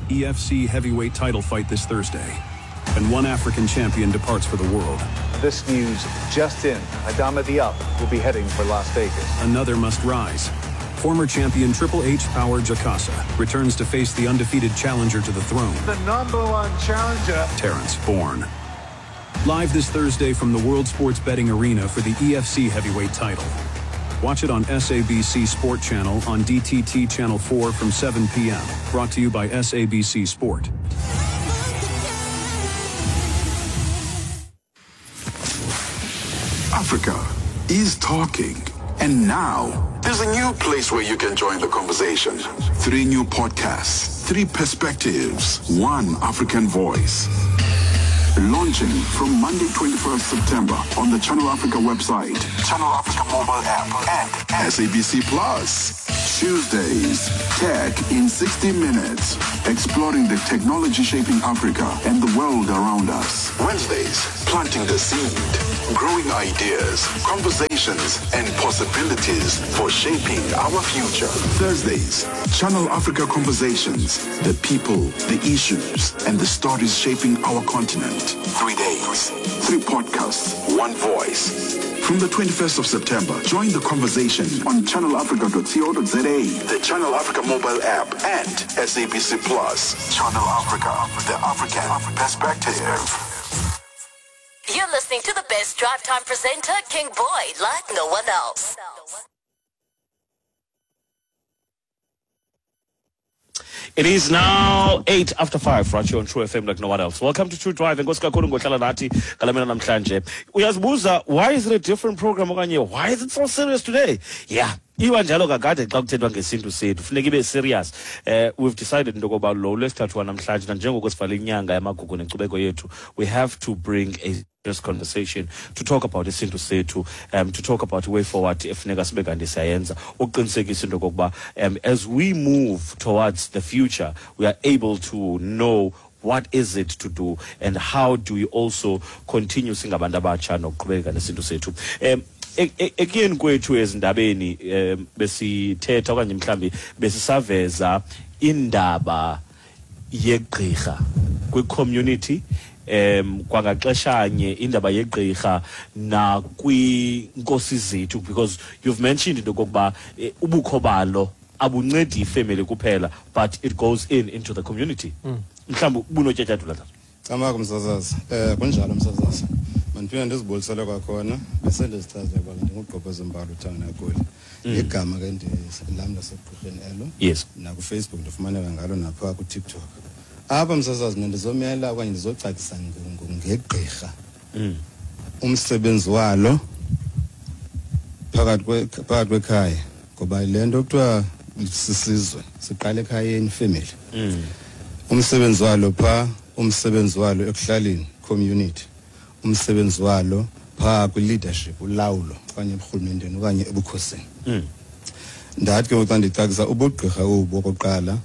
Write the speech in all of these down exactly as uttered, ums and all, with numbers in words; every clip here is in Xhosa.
E F C heavyweight title fight this Thursday. And one African champion departs for the world. This news just in. Adama Diop will be heading for Las Vegas. Another must rise. Former champion Triple H Power Jakasa returns to face the undefeated challenger to the throne. The number one challenger, Terrence Bourne. Live this Thursday from the World Sports Betting Arena for the E F C heavyweight title. Watch it on S A B C Sport Channel on D T T Channel four from seven p m Brought to you by S A B C Sport. Africa is talking. And now, there's a new place where you can join the conversation. Three new podcasts, three perspectives, one African voice. Launching from Monday twenty-first September on the Channel Africa website, Channel Africa mobile app, and S A B C Plus. Tuesdays, Tech in sixty minutes, exploring the technology shaping Africa and the world around us. Wednesdays, planting the seed, growing ideas, conversations, and possibilities for shaping our future. Thursdays, Channel Africa Conversations, the people, the issues, and the stories shaping our continent. Three days, three podcasts, one voice. From the twenty-first of September, join the conversation on channel africa dot co dot za, the Channel Africa mobile app, and S A B C Plus. Channel Africa, the African perspective. You're listening to the best drive time presenter, King Boy, like no one else. It is now eight after five, right here on True F M like no one else. Welcome to True Drive. Enkosi kakhulu ngohlala nathi ngale mini namhlanje. Uyazibuza, why is it a different program okanye why is it so serious today? Yeah. Iba njalo kakade xa kuthethwa ngesintu sethu funeka ibe serious. Eh, we've decided into yokoba lo lwesithathu wanamhlanje nanjengoko sivale inyanga yamagugu nenkcubeko yethu, we have to bring a serious conversation to talk about isintu sethu, um, to talk about way forward efuneka sibe kanti siyayenza ukuqinisekisa into yokokuba um, as we move towards the future, we are able to know what is it to do and how do we also continue singabantu abatsha nokuqhubeka nesintu sethu. Um, ekuyeni kwethu ezindabeni um, besithetha okanye mhlambi besisaveza indaba yegqirha kwi-community, um kwangaxeshanye indaba yegqirha nakwinkosi zethu, because you've mentioned into yokokuba ubukho balo abuncedi ifemeli kuphela, but it goes in into the community. Mhlawumbi ubunotyatyadula tata. Camagu msasazi. Eh kunjalo msasazi. Mandiphinde ndizibulisele kwakhona bese ndizichazele uba ndingugqobhoza Mbalo uthanga nagoli. Igama ke lam lasegqirheni elo. Yes. NakuFacebook ndifumaneka ngalo napha kuTikTok. Apha msasazi mna ndizomela okanye ndizocacisa ngegqirha. Umsebenzi walo phakathi phakathi kwekhaya, ngoba le nto kuthiwa sisizwe siqala ekhayeni family. Umsebenzi walo pha, umsebenzi walo ekuhlaleni community, umsebenzi walo pha kwi-leadership, ulawulo okanye eburhulumenteni okanye ebukhosini. Ndathi ke xa ndicacisa ubugqirha obu okokuqala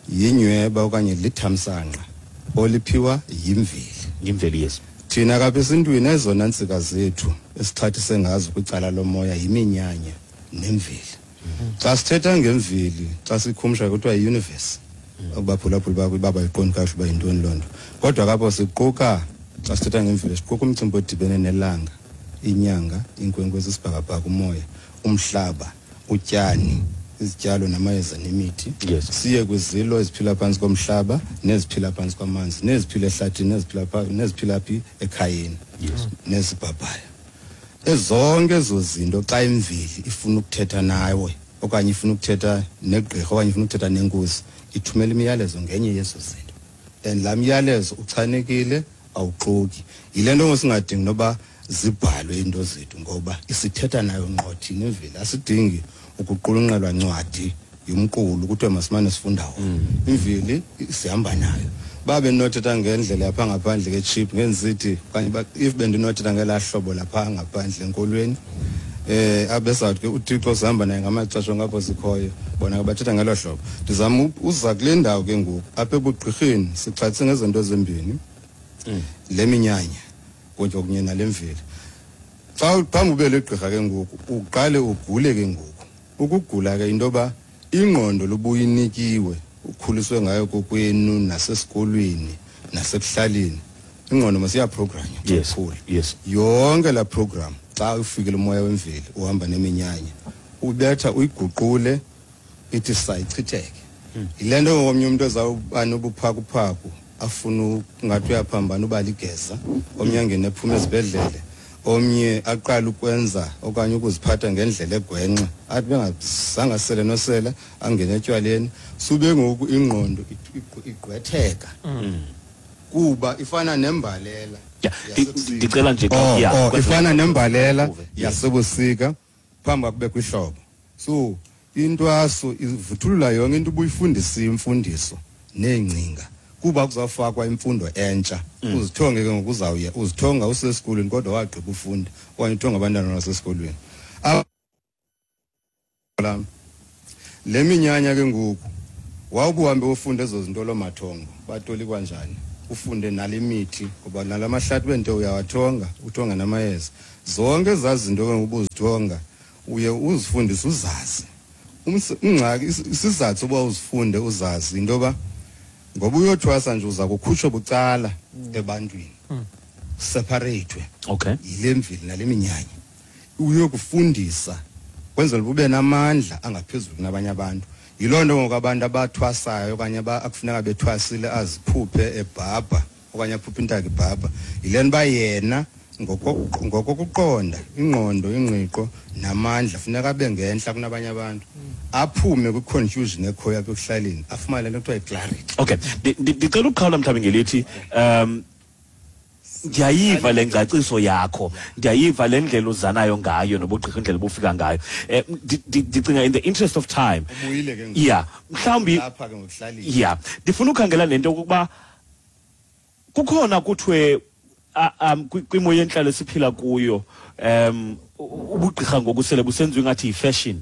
yinyweba okanye lithamsanqa oliphiwa yimveli. Yimveli, yes. Thina kapha esintwini ezona ntsika zethu esixhathise ngazo kwicala lomoya yiminyanya nemveli. Xa sithetha ngemveli, xa sikhumsha kuthiwa yi-universe, abaphulaphuli bakho baba yiqondi kahle uba yintoni loo nto. Kodwa kapho siquka, xa sithetha ngemveli siquka umcimbi odibene nelanga, inyanga, iinkwenkwezi, isibhakabhaka, umoya, umhlaba, utyani, izityalo namayeza nemithi. Yes. Siye kwizilo eziphila phantsi komhlaba neziphila phantsi kwamanzi neziphila ehlathini neziphila neziphila phi ekhayeni. Yes. Nezibhabhayo. Ezonke ezo zinto xa imveli ifuna ukuthetha nawe okanye ifuna ukuthetha negqirha okanye ifuna ukuthetha nenkosi, ithumela imiyalezo ngenye yezo zinto. And laa myalezo uchanekile, awuxoki. Yile nto ngosingadingi noba zibhalwe into zethu ngoba isithetha nayo ngqo thina imveli. Asidingi ukuqulunqelwa ncwadi yomqulu kuthiwe masimane sifunda wona. Imveli sihamba nayo. Babe ndinothetha ngendlela yapha ngaphandle ke chip ngenzithi okanye if bendinothetha ngelaa hlobo lapha ngaphandle enkolweni, eh abesawuthi ke uThixo sihamba naye ngamaxesha ngapho sikhoyo, bona ke bathetha ngelo hlobo. Ndizama uza kule ndawo ke ngoku apha ebugqirheni sixhathise ngezinto ezimbini, le minyanya kunye kunye nale mveli. Xa phambi ube legqirha ke ngoku uqale ugule ke ngoku. Ukugula ke into yoba ingqondo lubuyinikiwe ukhuliswe ngayo kokwenu nasesikolweni nasekuhlaleni, ingqondo masiyaprogranywa. Yes. Yes. Yonke la program xa ufikile umoya wemveli uhamba neminyanya ubetha uyiguqule ithi sayichitheke. Yile nto ngomnye umuntu ezawuba nobuphakuphaku afuna ungathi uyaphambana uba ligeza, omnye angene ephuma esibhedlele, omnye aqala ukwenza okanye ukuziphatha ngendlela egwenxa, athi bengazange sele nosela angene etywaleni, sube ngoku ingqondo igqwetheka kuba ifana nembalela. Ndicela nje oh, ifana nembalela yasebusika phambi kube kwihlobo. So intwaso ivuthulula yonke into ubuyifundisa imfundiso neengcinga kuba kuzawufakwa imfundo entsha. Uzithonge ke ngokuzawuya uzithonga usesikolweni kodwa wagqiba ufunda okanye uthonga abantwana basesikolweni. Le minyanya ke ngoku wawubuhambe ufunda ezo zinto lomathongo batolikwa njani, ufunde nale mithi ngoba nalamahlathi wento uyawathonga uthonga namayeza, zonke ezazinto ke ubuzithonga uye uzifundise uzazi. Ingxaki isizathu uba uzifunde uzazi into yoba ngoba uyothwasa nje uza kukhutshwa bucala ebantwini, separate. Okay. Yile mveli nale minyanya uyokufundisa kwenzela ube namandla angaphezulu kunabanye abantu. Yiloo nto ngoku abantu abathwasayo okanye akufuneka bethwasile aziphuphe ebhabha okanye aphuphe intaka ibhabha, yile nto uba yena ngokokuqonda ingqondo ingqiqo namandla funeka abe ngentla kunabanye abantu, aphume kwi-confusion ekhoyo apha ekuhlaleni, afumane le nto kuthiwa yi-clarity. Okay, ndicela ukuqhawula mhlawumbi ngelithi um ndiyayiva le ngcaciso yakho, ndiyayiva le ndlela uzanayo ngayo nobugqirha indlela obufika ngayo. Um ndicinga in the interest of time, yeah, mhlawumbi yeah, ndifuna ukhangela nento yokokuba kukhona kuthiwe um kwimo yentlalo esiphila kuyo um ubugqirha ngoku sele busenziwa ingathi yi-fashion.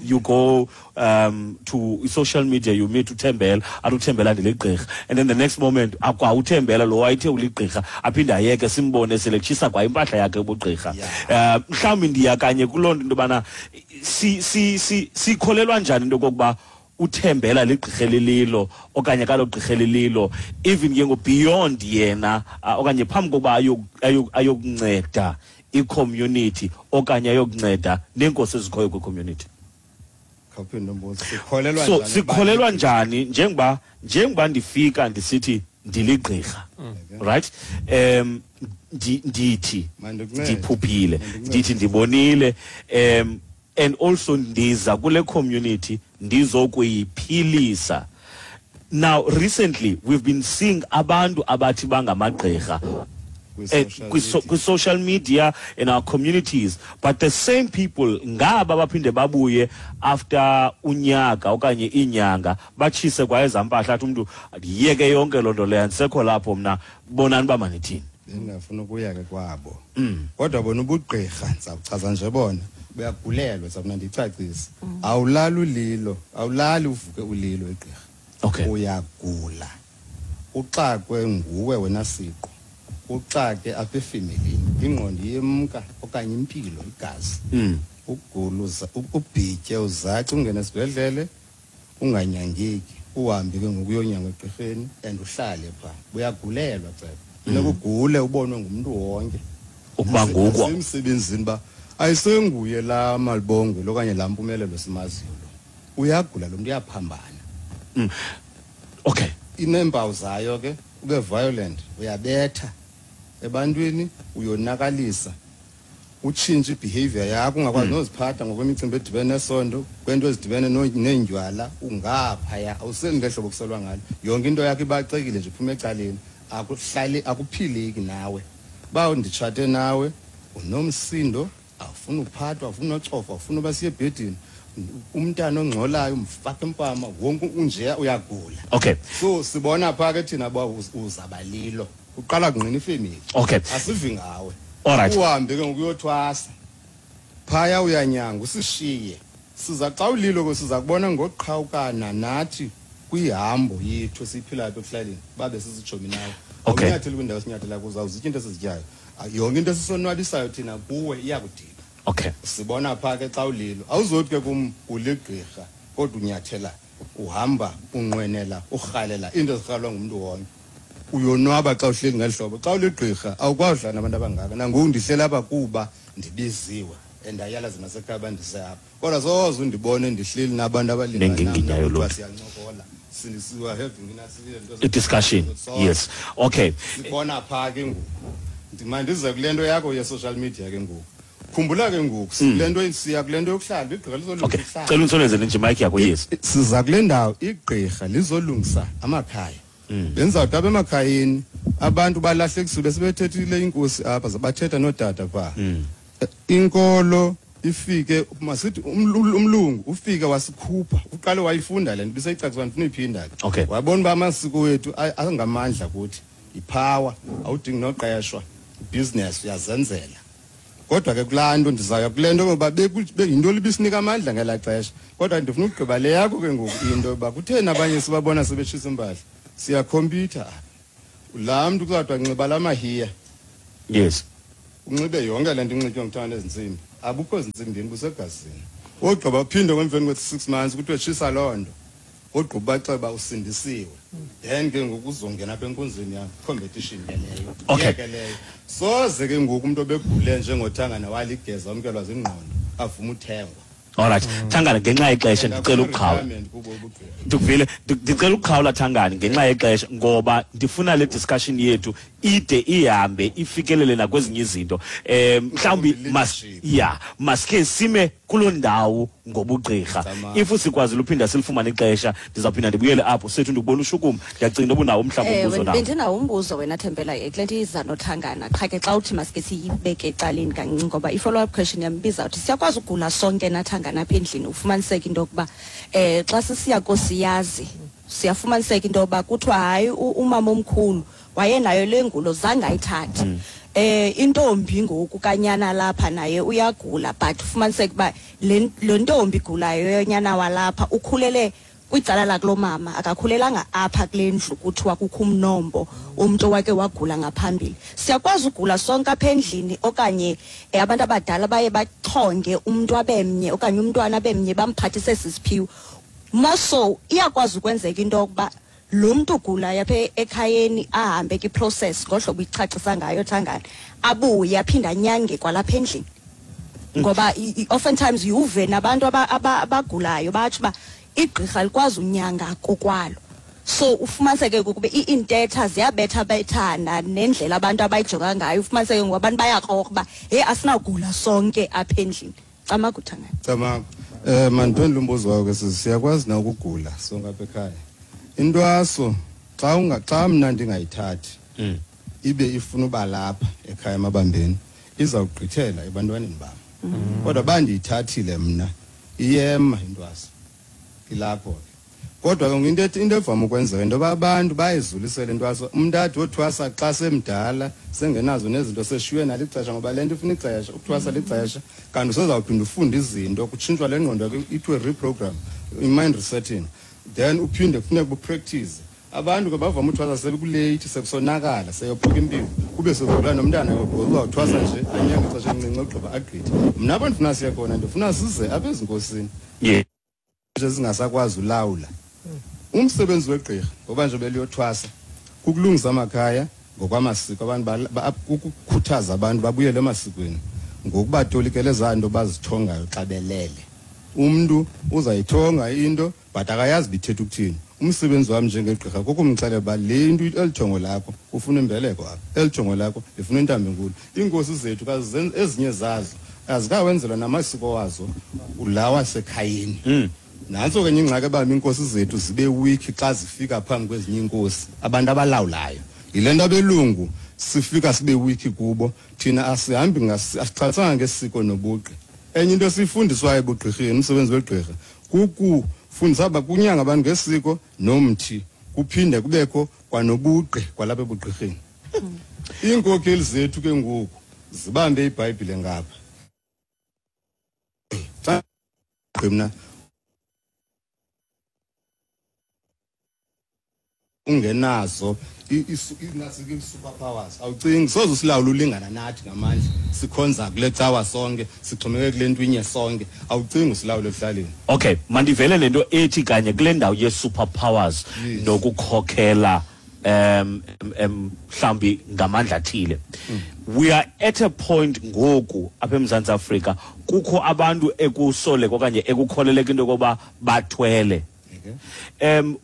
You go um to social media, you meet uThembela, athi uThembela ndiligqirha, and then the next moment akwa uThembela lo wayethe uligqirha aphinde ayeke simbone sele kutshisa kwa impahla yakhe ubugqirha. Um mhlawumbi ndiya kanye kuloo nto into yobana si si si sikholelwa njani into yokokuba uThembela ligqirha elililo okanye kalogqirha elililo, even ke ngo beyond yena okanye phambi kokuba ayokunceda i-community okanye ayokunceda neenkosi ezikhoyo kwi-community. So sikholelwa njani njengoba njengoba ndifika ndisithi ndiligqirha, right? Um ndithi ndiphuphile, ndithi ndibonile, um and also ndiza kule community ndizokuyiphilisa. Now recently we've been seeing abantu abathi bangamagqirha kwi-social media in our communities, but the same people ngaba baphinde babuye after unyaka okanye inyanga batshise kwa ezampahla athi umntu ndiyeke yonke loo nto leyo andisekho lapho mna, bonani uba manithini. Bendingafuna ukuya ke kwabo, kodwa bona ubugqirha ndizawuchaza nje bona buyagulelwa, ndizawufuna ndiyicacise. Awulali ulilo, awulali uvuke ulilo igqirha. Okay. Uyagula uxakwe nguwe wena siqu, uxake apha efemelini, ingqondo iyemka okanye impilo igazi. Ukugula ubhitye uzace ungene esibhedlele unganyangeki, uhambe ke ngokuyonyangwa egqirheni and uhlale phaa. Uyagulelwa ceba, funeka ugule ubonwe ngumntu wonke ukuba ngoku emsebenzini uba ayisenguye laa Malibongwe okanye laa Mpumelelo simaziyo lo, uyagula lo mntu uyaphambana. Okay. Ineempawu zayo ke, ube violent, uyabetha ebantwini, uyonakalisa, utshintshe i-behavior yakho, ungakwazi noziphatha ngokwemicimbi edibene nesondo, kwento ezidibene neendywala, ungaphaya awuseli ngehlobo kuselwa ngalo, yonke into yakho ibacekile nje iphuma ecaleni, akuhlali akuphileki nawe. Uba nditshate nawe unomsindo, awufuni uphathwa, awufuni ucofa, awufuni uba siye ebhedini, umntana ongxolayo umfaka impama, wonke unjeya uyagula. Okay. So sibona phaa ke thina uba uzabalilo, uqala kungqina ifemeli. Okay. Asivi ngawe. Alright. Uhambe ke ngokuyothwasa phaya uyanyanga usishiye, siza xa ulilo ke siza kubona ngokuqhawukana nathi kwihambo yethu esiyiphilayo apha ekuhlaleni, babe sisijomi nawe. Okay. Awunyatheli kwindawo esinyathela kuzo, awuzityi into esizityayo, yonke into esisonwabisayo thina kuwe iyakudika. Okay. Sibona phaa ke xa ulilo, awuzothi ke kum uligqirha kodwa unyathela Uhamba unqwenela urhalela into ezirhalwa ngumuntu wonke. Uyonwaba xa uhleli ngehlobo. Xa uligqirha awukwazi udlala nabantu abangaka. Nangoku ndihleli apha kuba ndibiziwe and ayalazi nasekhaya bandise apha. Kodwa soze undibone ndihleli nabantu abalingana Nenginginyayo loo nto. Siyancokola. Sindisiwa having A discussion. Yes. Okay. Sibona pha ke ngoku. Ndimandize kule nto yakho ye social media ke ngoku. Khumbula ke ngoku kule nto siya kule nto yokuhlala igqirha lizolungisa. Okay. Cela unsoneze nje mic yakho yes. Siza kule ndawo igqirha lizolungisa amakhaya. Benzawuthi apha emakhayeni abantu balahlekisiwe besebethethile inkosi apha zabathetha nootata pha. Inkolo ifike masithi umlungu ufike wasikhupha uqale wayifunda le nto bisayicacisa ndifuna uyiphinda ke. Okay. Wabona uba amasiko wethu angamandla kuthi ipower awudingi noqeshwa business uyazenzela. Kodwa ke kulaa nto ndizaya kule nto ngoba yinto libisinika amandla ngelaa xesha. Kodwa ndifuna ukugqiba le yakho ke ngoku into yoba kutheni abanye sibabona sebetshisa impahla. Siyakhompyutha apha. Laa mntu kuzawuthi anxiba la mahiya. Yes. Unxibe yonke le nto inxitywa ngumthanda ezintsimbi. Abukho zintsimbini busegazini. Ogqiba uphinde emveni kwe-six months kuthiwe tshisa loo nto. Ogqiba baxeba usindisiwe. Then ke ngoku uzongena apha enkonzweni yam, competition ke leyo. Okay. Ke leyo. Soze ke ngoku umuntu obegule njengoThangana waligeza wamkelwa zingqondo avuma uthengwa. All right. Thangana ngenxa yexesha ndicela ukuqhawula. Ndikuvile ndicela ukuqhawula Thangana ngenxa yexesha ngoba ndifuna le discussion yethu ide ihambe ifikelele nakwezinye izinto. Eh mhlawumbi mas yeah, maske sime kuloo ndawo ngobugqirha. If sikwazi uphinda silifumane ixesha ndizawuphinda ndibuyele apho sethu ndikubona ushukuma. Ndiyacinga uba unawo mhlawumbi umbuzo nawo. Bendinawo umbuzo wena Thembela kule nto iza noThangana. Qha ke xa uthi maske siyibeke ecaleni kancinci ngoba i-follow up question yam ibizawuthi siyakwazi ugula sonke naThangana apha endlini ufumaniseke into yokuba eh xa sisiya kosiyazi siyafumaniseka into yokuba kuthiwa hayi umama omkhulu wayenayo le ngulo zange ayithathe. Eh intombi ngoku kanyana lapha naye uyagula but ufumaniseke uba le ntombi igulayo yonyana walapha ukhulele kwicala lakulo mama akakhulelanga apha kule ndlu kuthiwa kukho umnombo umuntu wake wagula ngaphambili. Siyakwazi ugula sonke apha endlini okanye abantu abadala baye bachonge umuntu abemnye okanye umntwana abemnye bamphathise sisiphiwo. Moso iyakwazi ukwenzeka into yokuba lo muntu ugulayo apha ekhayeni ahambe ki-process ngohlobo ichachisa ngayo Thangana abuye aphinde anyange kwalapha endlini. Ngoba oftentimes uve nabantu abagulayo batsho uba igqirha likwazi unyanga kokwalo. So ufumaniseke ukuba iintetha ziyabetha bethana nendlela abantu abayijonga ngayo ufumaniseke ngoba abantu bayakrokra uba hey asinawugula sonke apha endlini. Camagu Thangana. Camagu. Eh mandiphendule umbuzo wakho ke sisi siyakwazi na ukugula sonke apha ekhaya. Intwaso xa unga xa mna ndingayithathi ibe ifuna uba lapha ekhaya emabambeni izawugqithela ebantwaneni bam. Kodwa bandiyithathile mna iyema intwaso ilapho ke. Kodwa ke into into evama ukwenzeka into yoba abantu bayizulisele intwaso. Umntu athi wothwasa xa semdala sengenazo nezinto seshiywe nalixesha ngoba le nto ifuna ixesha ukuthwasa lixesha kanti usezawuphinda ufunde izinto kutshintshwa le ngqondo yakho ithiwe reprogram i-mind resetting. Then uphinde kufuneka upractice. Abantu ke bavama uthwasa sebekulate sekusonakala seyophuka impilo kube sezula nomntana uzawuthwasa nje anyange ixesha elincinci ogqiba agqithe. Mna apho ndifuna siye khona ndifuna size apha ezinkosini nje zingasakwazi ulawula. Umsebenzi wegqirha ngoba nje beliyothwasa kukulungisa amakhaya ngokwamasiko abantu ukukhuthaza abantu babuyele emasikweni ngokubatolikela ezaa nto bazithongayo xa belele. Umntu uzayithonga into but akayazi bithetha ukuthini. Umsebenzi wami njengegqirha kukumxelela uba le into elithongo lakho ufuna imbeleko apha, elithongo lakho lifuna intambi enkulu. Iinkosi zethu ezinye zazo azikawenzelwa namasiko wazo lawa asekhayeni. Nantso ke ingxaki ebamba iinkosi zethu zibe weak xa zifika phambi kwezinye iinkosi abantu abalawulayo. Yile nto abelungu sifika sibe weak kubo thina asihambi asixhasanga ngesiko nobugqi. Enye into esiyifundiswayo ebugqirheni umsebenzi wegqirha kukufundisa kunyanga abantu ngesiko nomthi kuphinde kubekho kwanobugqi kwalapha ebugqirheni. Iinkokheli zethu ke ngoku zibambe iBhayibhile ngapha. Xa mna Ungenazo i-super powers, awucingi soze usilawula ulingana nathi ngamandla, sikhonza kule cawa sonke, sixhomeke kule nto inye sonke, awucingi usilawule ekuhlaleni. Okay, mandivele le nto ethi kanye kule ndawo ye-super powers nokukhokhela um um mhlawumbi ngamandla athile. We are at a point ngoku apha eMzantsi Afrika kukho abantu ekusoleka okanye ekukholeleka into yokoba bathwele. Um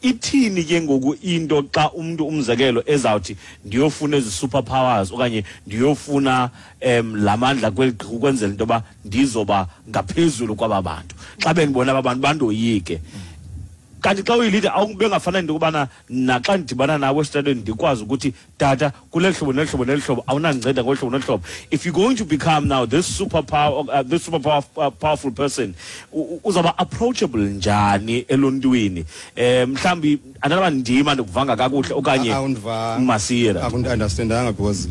ithini ke ngoku into xa umuntu umzekelo ezawuthi ndiyofuna ezi super powers okanye ndiyofuna um lamandla kwenzela into yoba ndizoba ngaphezulu kwaba bantu, xa bendibona aba bantu bandoyike. Kanti xa uyi-leader awubengafana into yokubana naxa ndidibana nawe esitratweni ndikwazi ukuthi tata kule hlobo neli hlobo neli hlobo awunandinceda ngolu hlobo nolu hlobo. If you're going to become now this super power, uh, this super power, uh, powerful person, uzawuba approachable njani eluntwini? Um mhlawumbi andanoba ndima ndikuvanga kakuhle okanye masira akundi-understandanga because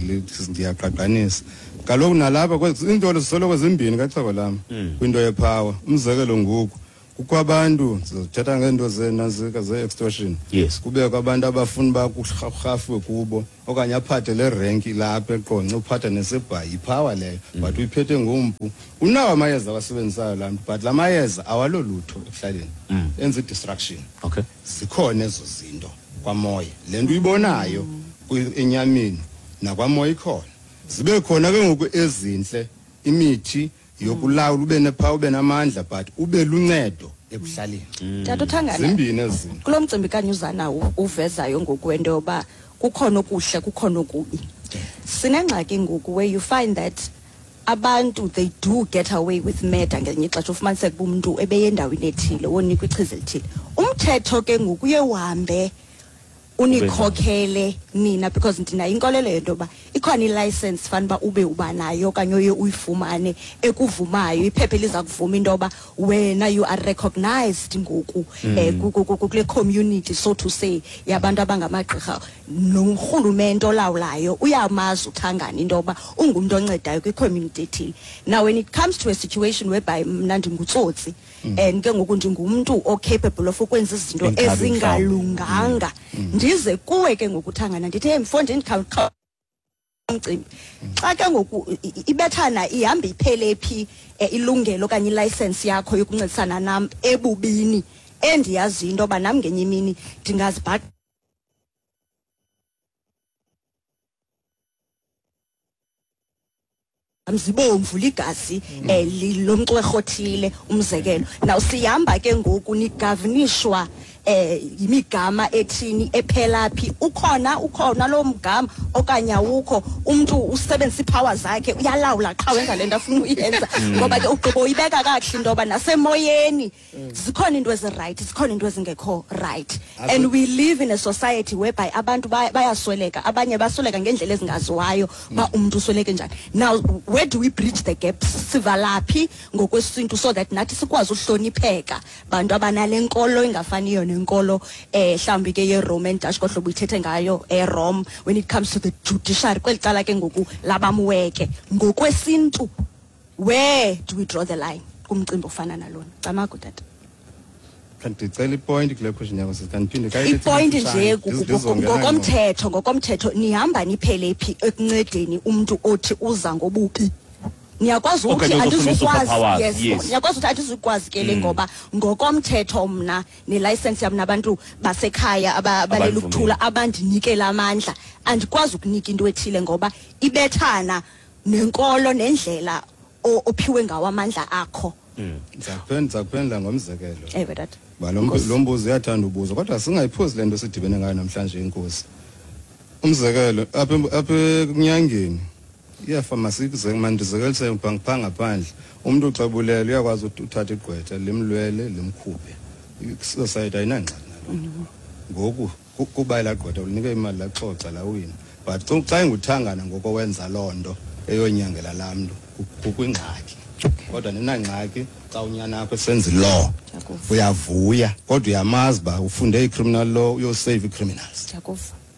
ndiyaqaqanisa kaloku nalapha iinto zisoloko zimbini kaxhego lam kwinto ye-power. Umzekelo ngoku kukho abantu, sizothetha ngeento zenantsika ze-extortion. Yes. Kubekho abantu abafuna uba kurhafiwe kubo okanye aphathe le renki lapha eQonce, uphathe nesebhayi, yi-power leyo, but uyiphethe ngompu. Unawo amayeza awasebenzisayo laa mntu, but la mayeza awalolutho ekuhlaleni, enza i-destruction. Okay. Zikhona ezo zinto kwamoya, le nto uyibonayo enyameni nakwamoya ikhona. Zibe khona ke ngoku ezintle imithi yokulawula, ube ne-power, ube namandla, but ube luncedo ekuhlaleni. Tata uThangana, zimbini ezinto kulo mcimbi kanyuzana uvezayo ngoku wento yoba kukhona okuhle kukhona okubi. Sinengxaki ngoku where you find that abantu they do get away with murder ngelinye ixesha, ufumaniseke uba umntu ebeye endaweni ethile wonikwa ichiza elithile. Umthetho ke ngoku uye uhambe unikhokhele nina, because ndinayo inkolelo yento yoba ikhona i-license fana uba ube uba nayo okanye uye uyifumane ekuvumayo, iphepha eliza kuvuma into yoba wena you are recognized ngoku um kule community, so to say, yabantu abangamagqirha. Norhulumente olawulayo uyamazi uThangana into yoba ungumntu oncedayo kwi-community ethile. Now when it comes to a situation whereby mna ndingutsotsi and ke ngoku ndingumntu o-capable of ukwenza izinto ezingalunganga, ndize kuwe ke ngoku Thangana ndithi hey mfondini umcimbi, xa ke ngoku ibethana ihamba iphele phi ilungelo okanye i-license yakho yokuncedisana nam ebubini, endiyaziyo into yoba nam ngenye imini ndingazibhaqa mzibomvu ligazi lomcwerho othile umzekelo. Now sihamba ke ngoku nigavinishwa eh imigama ethini ephela phi, ukhona ukhona lo mgama okanye awukho. Umuntu usebenzisa i-power zakhe, uyalawula qha wenza lento afuna uyenza, ngoba ke ugqibo uyibeka kakuhle into yoba nasemoyeni zikhona into ezi-right, zikhona into ezingekho right. And we live in a society whereby abantu bayasweleka, abanye basweleka ngendlela ezingaziwayo ba umuntu usweleke njani. Now where do we bridge the gaps? Sivalaphi ngokwesintu so that nathi sikwazi uhlonipheka bantu abanale nkolo engafaniyo nenkolo eh mhlawumbi ke ye-Roman Dutch kohlobo uyithethe ngayo eRome when it comes to the judiciary kweli cala ke ngoku labamweke ngokwesintu, where do we draw the line kumcimbi ofana nalona? Camagu tata. Ndicela i-point kule question yakho sisi, kandiphinde i-point nje ngokomthetho, ngokomthetho nihamba niphele phi ekuncedeni umuntu othi uza ngobubi? Niyakwazi ukuthi andizukwazi, yes, niyakwazi ukuthi andizukwazi ke le ngoba ngokomthetho mna ne-license yam nabantu basekhaya abalela ukuthula abandinikela amandla, andikwazi ukunika into ethile ngoba ibethana nenkolo nendlela ophiwe ngawo amandla akho. Ndizakuphendula ngomzekelo. Ewe tata. Ba lo mbuzo uyathanda ubuzo, kodwa singayiphuzi le nto sidibene ngayo namhlanje inkosi. Umzekelo apha apha ekunyangeni iyafamasi mandizekelise pha ngaphandle, umntu uxabulele uyakwazi uthatha igqwetha limlwele limkhuphe. I-society ayinangxaki naloo nto. Ngoku kuba elaa gqwetha ulinike imali laxoxa lawina, but xa enguThangana ngoko wenza loo nto eyonyangela laa mntu kukwingxaki. Kodwa ninangxaki xa unyana wakho esenza i-law, uyavuya kodwa uyamazi uba ufunde i-criminal law, uyosave ii-criminals.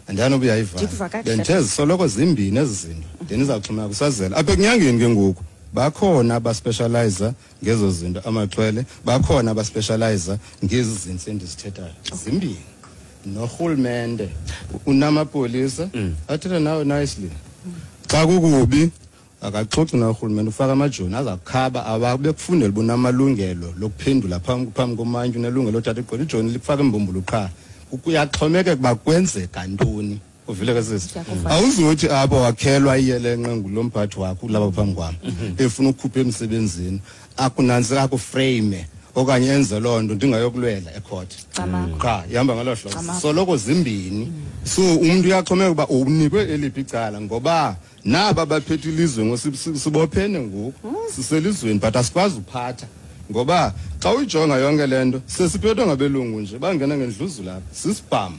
Andiyani uba uyayiva. Bendithe zisoloko zimbini ezi zinto, then izawuxhomeka kusazela. Apha ekunyangeni ke ngoku bakhona abaspecializa ngezo zinto amaxhwele, bakhona abaspecializa ngezi zinto endizithethayo. Zimbini. Norhulumente unamapolisa athetha nawe nicely. Xa kukubi akaxoxi norhulumente, ufaka amajoni azakukhaba abekufundela uba unamalungelo lokuphendula phambi phambi komantyi, unelungelo lothatha igqwetha, ijoni likufaka imbumbulu qha. Kuyaxhomekeka uba kwenzeka ntoni. Uvile ke sisi? Ndiyakuva. Awuzuthi apho wakhelwa iyelenqe ngulo mphathi wakho ulapha phambi kwam, efuna ukukhupha emsebenzini, akunantsi akuframe okanye enze loo nto, ndingayokulwela ekhoti. Camagu. Qha ihamba ngolo hlobo. Camagu. Soloko zimbini. So umntu uyaxhomeka uba unikwe eliphi icala, ngoba naba baphethe ilizwe ngoku, sibophene ngoku, siselizweni, but asikwazi uphatha, ngoba xa uyijonga yonke le nto sesiphethwe ngabelungu nje, bangena ngendluzula apha sisibham,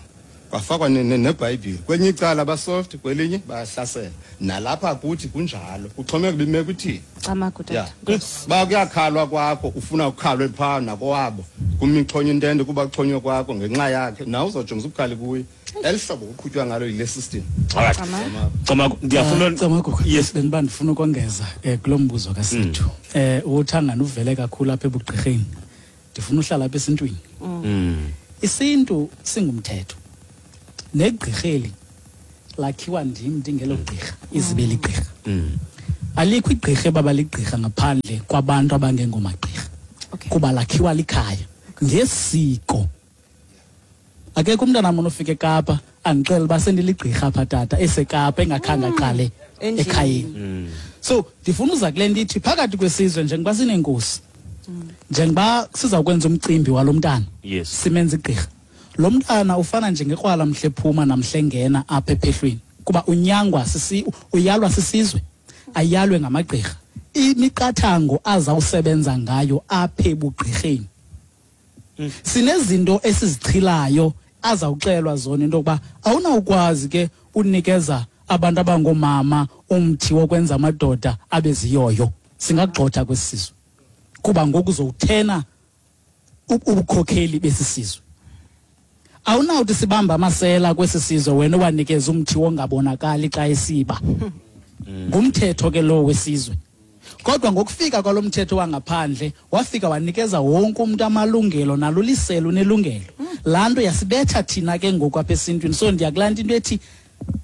kwafakwa ne- ne- nebhayibhile kwenye icala, basoft, kwelinye bayahlasela. Nalapha kuthi kunjalo, kuxhomeka uba imeko ithini. Camagu Ya, tata. Ba kuyakhalwa kwakho, ufuna ukukhalwe phaa nakowabo, kumixhonyo intente kuba kuxhonywe kwakho ngenxa yakhe, nawe uzawujongisa ubukhali kuye. Eli hlobo kuqhutywa ngalo yile system. Alright. Camagu, ndiyafuna. Camagu. Yes. Bendiba ndifuna ukongeza um kulo mbuzo kaSithu. um uthangana uvele kakhulu apha ebugqirheni, ndifuna uhlala apha esintwini. Isintu singumthetho, negqirheli lakhiwa ndim ndingelo gqirha, izibe ligqirha. Alikho igqirha ebaba ligqirha ngaphandle kwabantu abangengomagqirha, Okay. kuba lakhiwa likhaya ngesiko. Akekho umntana mna ofika eKapa andixele uba sendiligqirha apha tata, eseKapa, engakhange aqale Endlini. ekhayeni. So ndifuna uza kule nto ithi phakathi kwesizwe, njengoba sinenkosi, njengoba sizawukwenza umcimbi walo mntana, Yes. simenza igqirha, lo mntana ufana njengekrwala mhle ephuma namhle engena apha ephehlweni, kuba unyangwa sisi, uyalwa sisizwe, ayalwe ngamagqirha imiqathango azawusebenza ngayo apha ebugqirheni. Sinezinto esizichilayo azawuxelwa zona, into yokuba awunawukwazi ke unikeza abantu abangoomama umthi wokwenza amadoda abe ziyoyo, singagxotha kwesi sizwe, kuba ngoku uzowuthena ubukhokheli besi sizwe. Awunawuthi sibamba amasela kwesi sizwe, wena owanikeza umthi wongabonakali xa esiba. Ngumthetho ke lowo wesizwe. Kodwa ngokufika kwalo mthetho wangaphandle, wafika wanikeza wonke umuntu amalungelo, naluliselo unelungelo. Laa nto yasibetha thina ke ngoku apha esintwini. So ndiyakulaa nto into ethi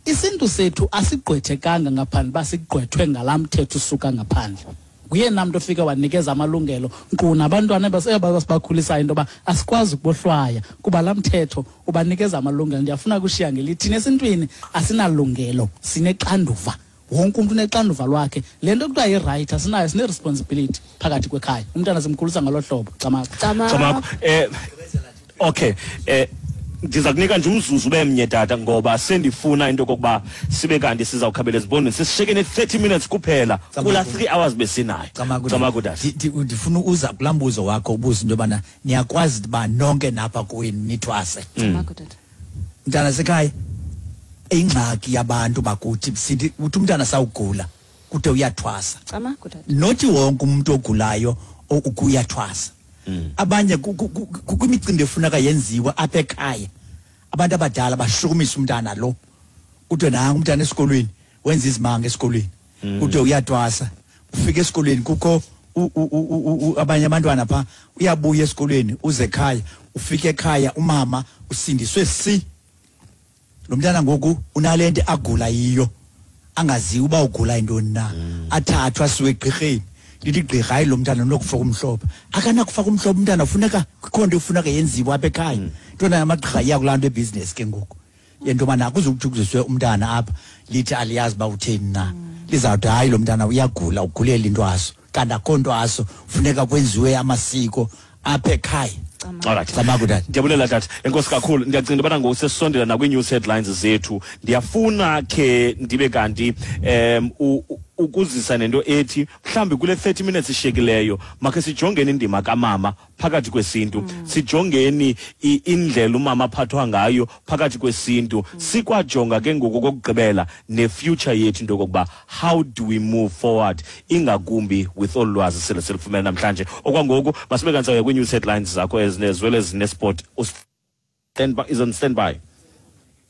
isintu sethu asigqwethekanga ngaphandle uba sigqwethwe ngalaa mthetho usuka ngaphandle. Nguyena mntu ofike wanikeza amalungelo, nkqu nabantwana ebasibakhulisayo, into yoba asikwazi ukubohlwaya kuba laa mthetho ubanikeza amalungelo. Ndiyafuna kushiya ngelithi thina esintwini asinalungelo, sinexanduva. Wonke umntu unexanduva lwakhe. Le nto kuthiwa yi-right asinayo, sine-responsibility phakathi kwekhaya. Umntana simkhulisa ngolo hlobo. Camagu. Camagu. Eh okay, eh ndiza kunika nje umzuzu ube mnye tata, ngoba sendifuna into yokokuba sibe kanti sizawukhabela ezibondweni. Sisisheke ne-thirty minutes kuphela kula three hours besinayo. Camagu. Camagu tata. Ndi- ndi- ndifuna uza kulaa mbuzo wakho ubuza into yobana niyakwazi uba nonke napha kweni nithwase. Camagu tata. Mntana sekhaya, ingxaki yabantu bakuthi sithi uthi umntana sawugula kude uyathwasa. Camagu tata. Nothi wonke umuntu ogulayo o- uyathwasa. Abanye ku- ku- ku- ku- kwimicimbi efuneka yenziwe apha ekhaya, abantu abadala bashukumisa umntana lo, kuthiwe nangu umntana esikolweni wenza izimanga esikolweni, kuthiwe uyathwasa. Ufika esikolweni kukho u- u- u- u- u- abanye abantwana phaa, uyabuya esikolweni uze ekhaya, ufike ekhaya umama usindiswe si lo mntana ngoku unale nto agula yiyo, angaziwa uba ugula yintoni na, athathwe asiwe egqirheni. Lithi igqirha, hayi, lo mntana unokufaka umhlophe. Akanakufaka umhlophe umntana, funeka kukho nto efuneka yenziwe apha ekhaya. Ntona amagqirha iya kulaa nto ebhizinesi ke ngoku yento yobana akuzukuthi kuziswe umntana apha, lithi aliyazi uba utheni na, lizawuthi hayi, lo mntana uyagula, ugulela intwaso, kanti akho ntwaso, funeka kwenziwe amasiko apha ekhaya. Alright. Camagu tata. Ndiyabulela tata. Enkosi kakhulu. Ndiyacinga ubana ngoku sesisondela nakwi-news headlines zethu. Ndiyafuna khe ndibe kanti um u- u- ukuzisa nento ethi mhlawumbi kule thirty minutes ishiyekileyo makhe sijongeni indima kamama phakathi kwesintu, sijongeni i- indlela umama aphathwa ngayo phakathi kwesintu, sikwajonga ke ngoku kokugqibela ne-future yethu, into yokokuba how do we move forward, ingakumbi with olu lwazi sele silufumene namhlanje. Okwangoku masibe kanti sawuya kwii-news headlines zakho ezinezwele ezinesport. Stand by, is on standby.